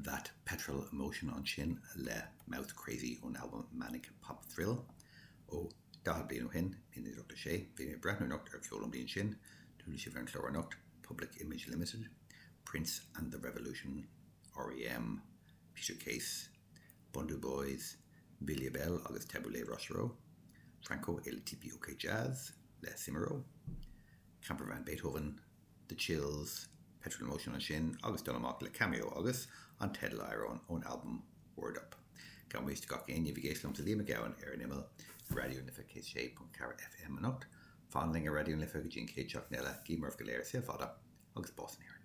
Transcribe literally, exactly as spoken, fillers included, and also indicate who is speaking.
Speaker 1: That Petrol Emotion ansin le Mouth Crazy ón albam Manic Pop Thrill ó daichead bliain ó shin, naoi déag ochtó sé. Bhí mé ag breathnú anocht ar cheol an bhliain sin, chuala sibh ar an chlár anocht, Public Image Limited, Prince and the Revolution, R E M, Peter Case, Bhundu Boys, Mbilia Bel agus Tabu Ley Rochereau, Franco et le Tipi OK Jazz le Simaro, Camper Van Beethoven, The Chills, Petrol Emotion ansin agus dul amach le Cameo agus an teideal ón albam Word Up. Gan mist gach éinne bhí géislam sa Liam Gabhann ar an imeall Raidió na Life céad sé ponc ceathair F M anocht. Fan linn ar Raidió na Life go dtí an chéad seachtain eile, guím oraibh go léir saol fada agus bás in Éirinn.